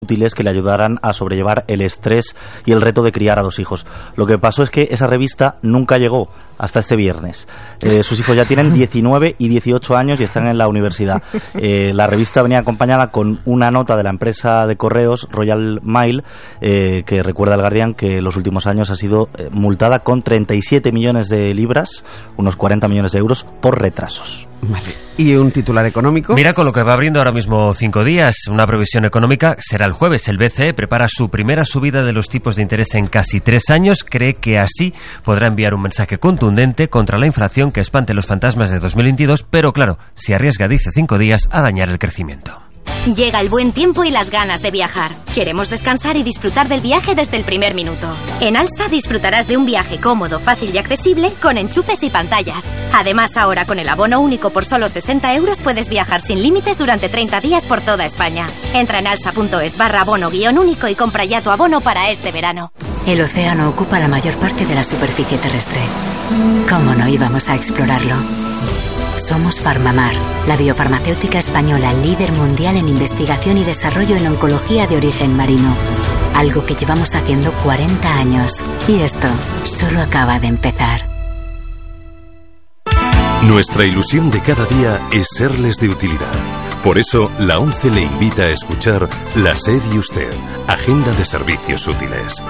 útiles que le ayudaran a sobrellevar el estrés y el reto de criar a 2 hijos. Lo que pasó es que esa revista nunca llegó hasta este viernes. Sus hijos ya tienen 19 y 18 años y están en la universidad. La revista venía acompañada con una nota de la empresa de correos Royal Mail, que recuerda al Guardian que en los últimos años ha sido multada con 37 millones de libras, unos 40 millones de euros, por retrasos. Vale. ¿Y un titular económico? Mira con lo que va abriendo ahora mismo 5 días. Una previsión económica será el jueves. El BCE prepara su primera subida de los tipos de interés en casi 3 años. Cree que así podrá enviar un mensaje contundente contra la inflación que espante los fantasmas de 2022, pero claro, se arriesga, dice 5 días, a dañar el crecimiento. Llega el buen tiempo y las ganas de viajar. Queremos descansar y disfrutar del viaje desde el primer minuto. En Alsa disfrutarás de un viaje cómodo, fácil y accesible con enchufes y pantallas. Además, ahora con el abono único por solo 60 euros puedes viajar sin límites durante 30 días por toda España. Entra en alsa.es/abono-único y compra ya tu abono para este verano. El océano ocupa la mayor parte de la superficie terrestre. ¿Cómo no íbamos a explorarlo? Somos Farmamar, la biofarmacéutica española líder mundial en investigación y desarrollo en oncología de origen marino. Algo que llevamos haciendo 40 años. Y esto solo acaba de empezar. Nuestra ilusión de cada día es serles de utilidad. Por eso, la ONCE le invita a escuchar La SER y Usted, Agenda de Servicios Útiles.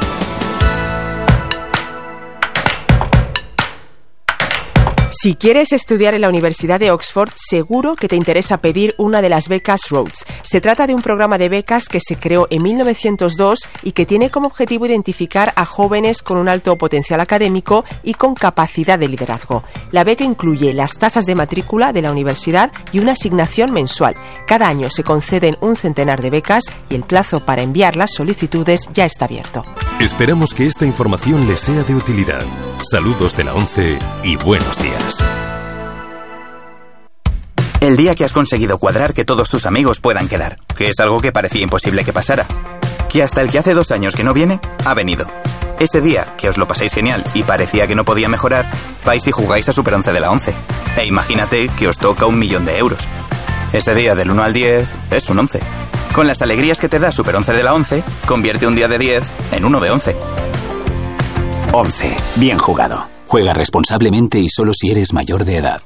Si quieres estudiar en la Universidad de Oxford, seguro que te interesa pedir una de las becas Rhodes. Se trata de un programa de becas que se creó en 1902 y que tiene como objetivo identificar a jóvenes con un alto potencial académico y con capacidad de liderazgo. La beca incluye las tasas de matrícula de la universidad y una asignación mensual. Cada año se conceden un centenar de becas y el plazo para enviar las solicitudes ya está abierto. Esperamos que esta información les sea de utilidad. Saludos de la ONCE y buenos días. El día que has conseguido cuadrar que todos tus amigos puedan quedar, que es algo que parecía imposible que pasara. Que hasta el que hace 2 años que no viene, ha venido. Ese día, que os lo pasáis genial y parecía que no podía mejorar, vais y jugáis a Super 11 de la 11. E imagínate que os toca 1.000.000 de euros. Ese día del 1 al 10 es un 11. Con las alegrías que te da Super 11 de la 11, convierte un día de 10 en uno de 11. 11. Bien jugado. Juega responsablemente y solo si eres mayor de edad.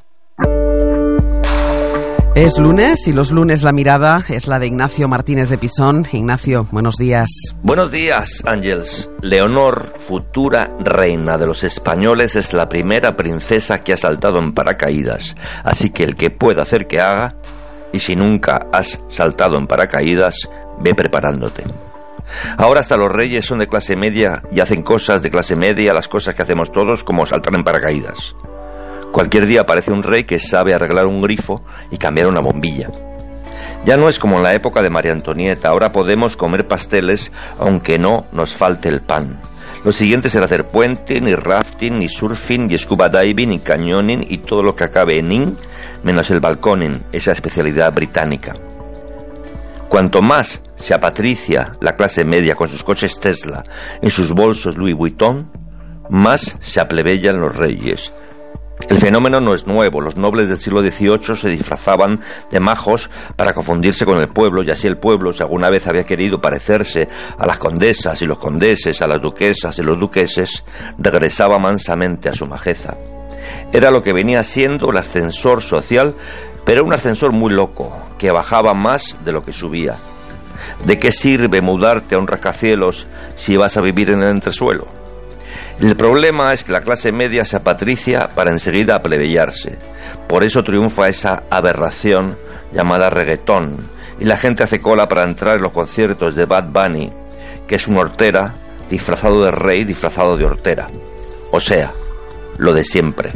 Es lunes y los lunes la mirada es la de Ignacio Martínez de Pisón. Ignacio, buenos días. Buenos días, Ángels. Leonor, futura reina de los españoles, es la primera princesa que ha saltado en paracaídas. Así que el que pueda hacer que haga, y si nunca has saltado en paracaídas, ve preparándote. Ahora hasta los reyes son de clase media y hacen cosas de clase media, las cosas que hacemos todos, como saltar en paracaídas. Cualquier día aparece un rey que sabe arreglar un grifo y cambiar una bombilla. Ya no es como en la época de María Antonieta, ahora podemos comer pasteles aunque no nos falte el pan. Lo siguiente será hacer puente, ni rafting, ni surfing, ni scuba diving, ni cañoning y todo lo que acabe en in, menos el balconing, esa especialidad británica. Cuanto más se apatricia la clase media con sus coches Tesla, en sus bolsos Louis Vuitton, más se aplebeyan los reyes. El fenómeno no es nuevo. Los nobles del siglo XVIII se disfrazaban de majos para confundirse con el pueblo, y así el pueblo, si alguna vez había querido parecerse a las condesas y los condeses, a las duquesas y los duqueses, regresaba mansamente a su majeza. Era lo que venía siendo el ascensor social, pero un ascensor muy loco, que bajaba más de lo que subía. ¿De qué sirve mudarte a un rascacielos si vas a vivir en el entresuelo? El problema es que la clase media se apatricia para enseguida aplebeyarse. Por eso triunfa esa aberración llamada reggaetón, y la gente hace cola para entrar en los conciertos de Bad Bunny, que es un hortera disfrazado de rey, disfrazado de hortera. O sea, lo de siempre.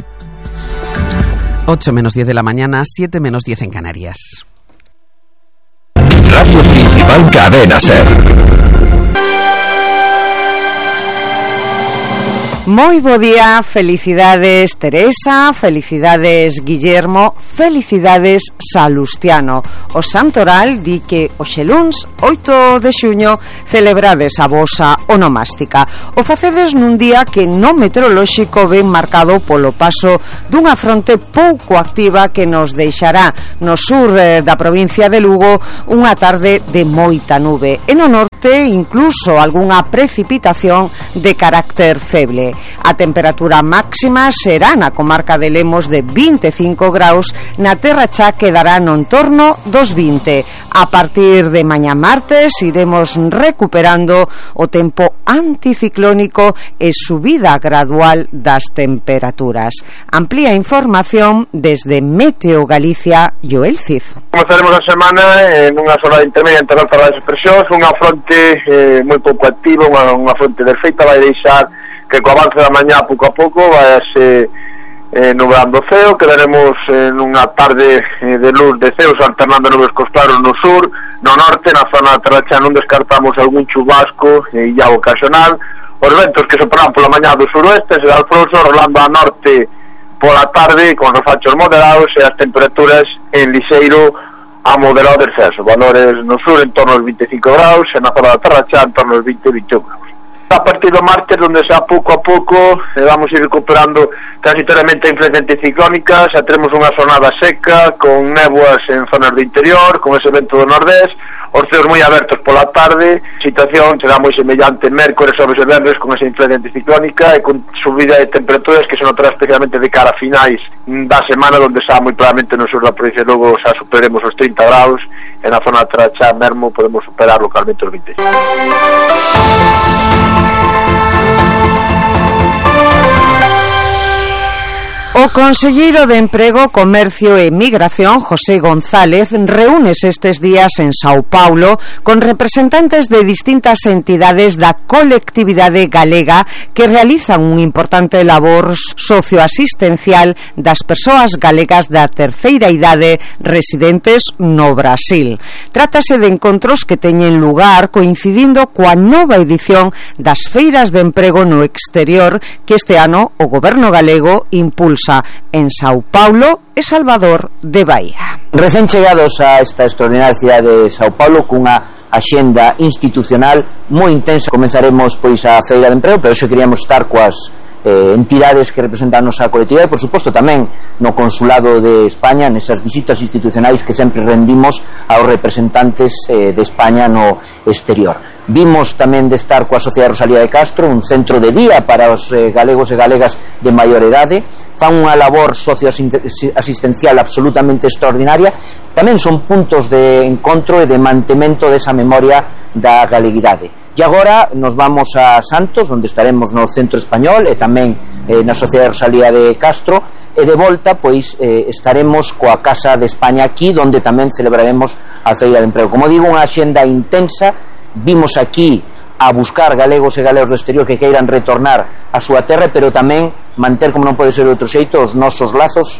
8 menos 10 de la mañana, 7 menos 10 en Canarias. Radio Principal Cadena SER. Moi bo día, felicidades Teresa, felicidades Guillermo, felicidades Salustiano. O Santoral di que hoxe luns 8 de xuño celebrades a vosa onomástica. O facedes nun día que no meteorolóxico ven marcado polo paso dunha fronte pouco activa que nos deixará no sur da provincia de Lugo unha tarde de moita nube. E no norte incluso algunha precipitación de carácter feble. A temperatura máxima será na comarca de Lemos de 25 graus, na Terra Cha quedará no entorno dos 20. A partir de mañá martes iremos recuperando o tempo anticiclónico e subida gradual das temperaturas. Amplía información desde Meteo Galicia, Joel Cid. Comenzaremos a semana nunha zona intermedia entre altas das expresións, unha fronte moi pouco activa, unha fronte perfeita, vai deixar que co avance da mañá pouco a pouco vai nublando o ceo, quedaremos nunha tarde de luz de ceos alternando nubes cos claros no sur, no norte, na zona da Terra Cha non descartamos algún chubasco e ya ocasional. Os ventos que soprarán pola mañá do suroeste será alfonso, rolando a norte pola tarde con refachos moderados e as temperaturas en lixeiro a moderado descenso, valores no sur en torno aos 25 graus e na zona da Terra Cha en torno aos 20-21 graus. A partir do martes, donde xa pouco a pouco vamos ir recuperando transitoriamente a influencia anticiclónica, xa teremos unha xornada seca con néboas en zonas do interior, con ese vento do nordés, os ceos moi abertos pola tarde, situación será moi semellante mércores, xoves e venres con esa influencia anticiclónica e con subida de temperaturas que se notará especialmente de cara a finais da semana, donde xa moi claramente no sur da provincia de Lugo xa superemos os 30 graus e na zona da Terra Cha mesmo podemos superar localmente os 26. O conselleiro de Emprego, Comercio e Migración, José González, reúnese estes días en Sao Paulo con representantes de distintas entidades da colectividade galega que realizan un importante labor socioasistencial das persoas galegas da terceira idade residentes no Brasil. Trátase de encontros que teñen lugar coincidindo coa nova edición das feiras de emprego no exterior que este ano o goberno galego impulsa en Sao Paulo e Salvador de Bahía. Recén chegados a esta extraordinaria cidade de Sao Paulo cunha axenda institucional moi intensa. Comenzaremos pois a feira de emprego, pero xe queríamos estar coas entidades que representan a nosa colectividade e por suposto tamén no Consulado de España nesas visitas institucionais que sempre rendimos aos representantes de España no exterior. Vimos tamén de estar coa Sociedade Rosalía de Castro, un centro de día para os galegos e galegas de maior idade, fan unha labor socioasistencial absolutamente extraordinaria, tamén son puntos de encontro e de mantemento desa memoria da galeguidade. E agora nos vamos a Santos, onde estaremos no Centro Español e tamén na Sociedade Rosalía de Castro, e de volta pois estaremos coa Casa de España aquí, onde tamén celebraremos a Feira de Emprego. Como digo, unha axenda intensa. Vimos aquí a buscar galegos e galegos do exterior que queiran retornar a súa terra, pero tamén manter, como non pode ser de outro xeito, os nosos lazos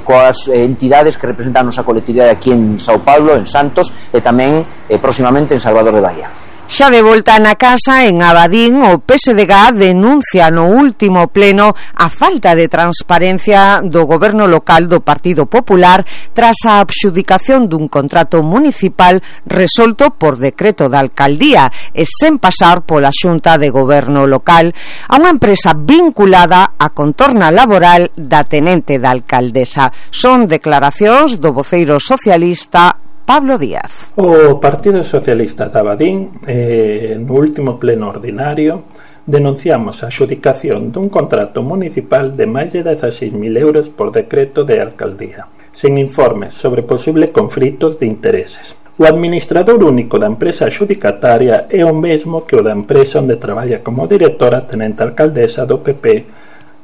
coas entidades que representan a nosa colectividade aquí en Sao Paulo, en Santos e tamén próximamente en Salvador de Bahía. Xa de volta na casa, en Abadín, o PSDG denuncia no último pleno a falta de transparencia do goberno local do Partido Popular tras a adxudicación dun contrato municipal resolto por decreto da alcaldía e sen pasar pola xunta de goberno local a unha empresa vinculada á contorna laboral da tenente da alcaldesa. Son declaracións do voceiro socialista Pablo Díaz. O Partido Socialista de Abadín no último pleno ordinario denunciamos a adxudicación dun contrato municipal de máis de 16.000 euros por decreto de alcaldía, sen informes sobre posibles conflitos de intereses. O administrador único da empresa adxudicataria é o mesmo que o da empresa onde traballa como directora tenente alcaldesa do PP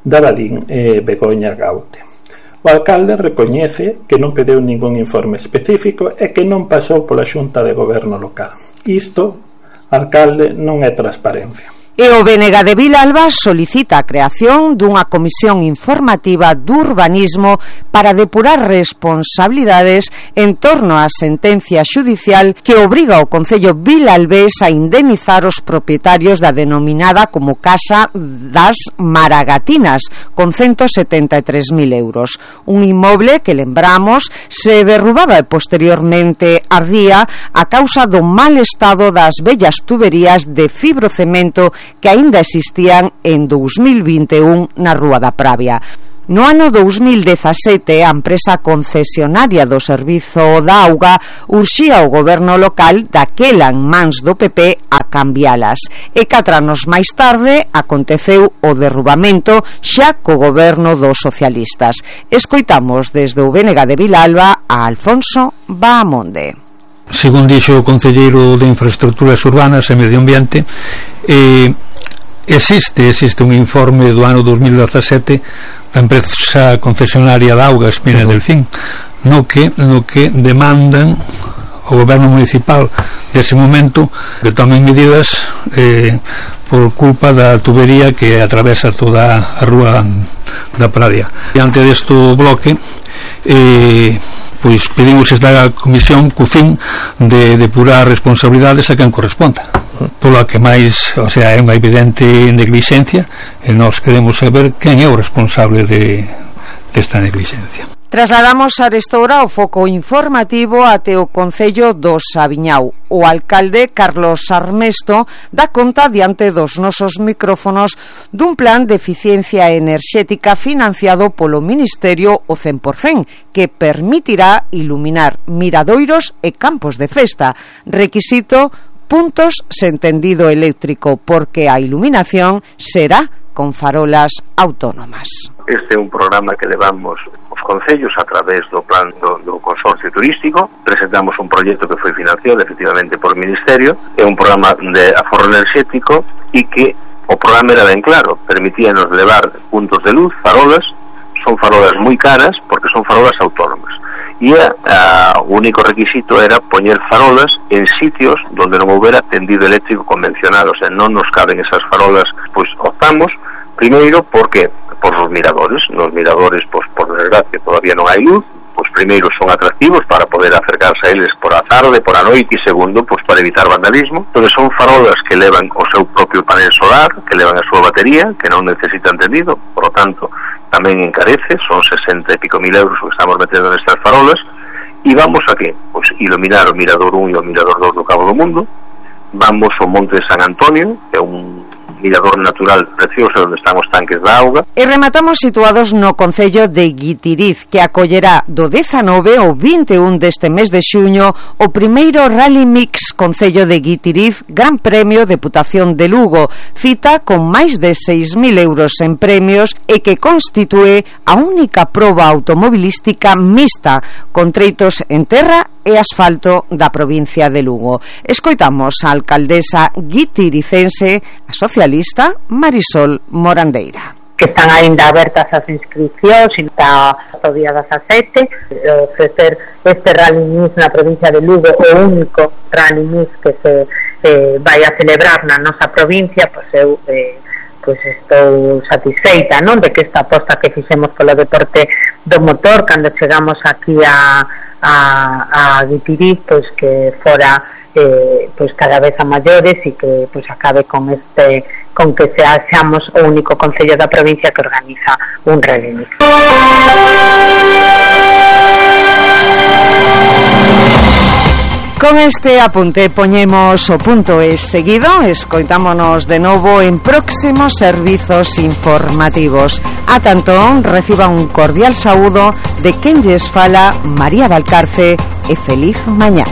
de Abadín, Begoña Gaute. O alcalde recoñece que non pediu ningún informe específico e que non pasou pola xunta de goberno local. Isto, alcalde, non é transparencia. E o BNG de Vilalba solicita a creación dunha comisión informativa do urbanismo para depurar responsabilidades en torno á sentencia xudicial que obriga ao Concello vilalbés a indemnizar os propietarios da denominada como Casa das Maragatinas con 173.000 euros. Un inmoble que, lembramos, se derrubaba e posteriormente ardía a causa do mal estado das vellas tuberías de fibrocemento que aínda existían en 2021 na Rúa da Pravia. No ano 2017, a empresa concesionaria do Servizo da Auga urxía o goberno local, daquela en mans do PP, a cambialas. E 4 anos máis tarde aconteceu o derrubamento xa co goberno dos socialistas. Escoitamos desde o BNG de Vilalba a Alfonso Bahamonde. Según dixo o concelleiro de Infraestructuras Urbanas e Medio Ambiente, existe un informe do ano 2017 da empresa concesionaria de augas Mine Delfín no que demandan ao goberno municipal dese momento que tomen medidas por culpa da tubería que atravesa toda a Rúa da Pradia. Diante desto bloque pois pedimos esta comisión co fin de depurar responsabilidades a quen corresponda, polo que máis, o sea, é unha evidente negligencia e nós queremos saber quen é o responsable desta negligencia. Trasladamos arestora o foco informativo até o Concello do Sabiñao. O alcalde Carlos Armesto dá conta diante dos nosos micrófonos dun plan de eficiencia enerxética financiado polo Ministerio o 100%, que permitirá iluminar miradoiros e campos de festa. Requisito: puntos sen tendido eléctrico, porque a iluminación será con farolas autónomas. Este é un programa que levamos os concellos a través do plan do consorcio turístico. Presentamos un proxecto que foi financiado efectivamente por Ministerio. É un programa de aforro enerxético e que o programa era ben claro, permitíanos levar puntos de luz, farolas. Son farolas moi caras porque son farolas autónomas. E o único requisito era poñer farolas en sitios donde non houbera tendido eléctrico convencional, o sea, non nos caben esas farolas. Pois optamos primeiro porque por os miradores. Nos miradores, pois por desgracia todavía non hai luz. Pois primeiro son atractivos para poder acercarse a eles por a tarde, por a noite, e segundo, pois para evitar vandalismo. Entón son farolas que levan o seu propio panel solar, que levan a súa batería, que non necesitan tendido, por lo tanto tamén encarece, son 60 e pico mil euros o que estamos metendo nestas farolas. E vamos a que? Pois iluminar o Mirador 1 e o Mirador 2 do Cabo do Mundo. Vamos ao Monte de San Antonio, que é un mirador natural precioso onde están os tanques da auga. E rematamos situados no Concello de Guitiriz, que acollerá do 19 ao 21 deste mes de xuño o primeiro Rally Mix Concello de Guitiriz Gran Premio Deputación de Lugo, cita con máis de 6.000 euros en premios e que constitúe a única proba automobilística mixta con treitos en terra e asfalto da provincia de Lugo. Escoitamos a alcaldesa guitiricense, a socialista Marisol Morandeira. Que están aínda abertas as inscripcións e está o día 17 ofrecer este Rally Mix na provincia de Lugo, o único Rally Mix que se vai a celebrar na nosa provincia. Pois eu pois estou satisfeita, non, de que esta aposta que fixemos polo deporte do motor cando chegamos aquí a Guitiriz, pois que fora pois cada vez a maiores e que pois acabe con que seamos o único concello da provincia que organiza un Rally Mix. Con este apunte poñemos o punto e seguido. Escoitámonos de novo en próximos servizos informativos. A tanto, reciba un cordial saúdo de quen lles fala María Valcarce e feliz mañá.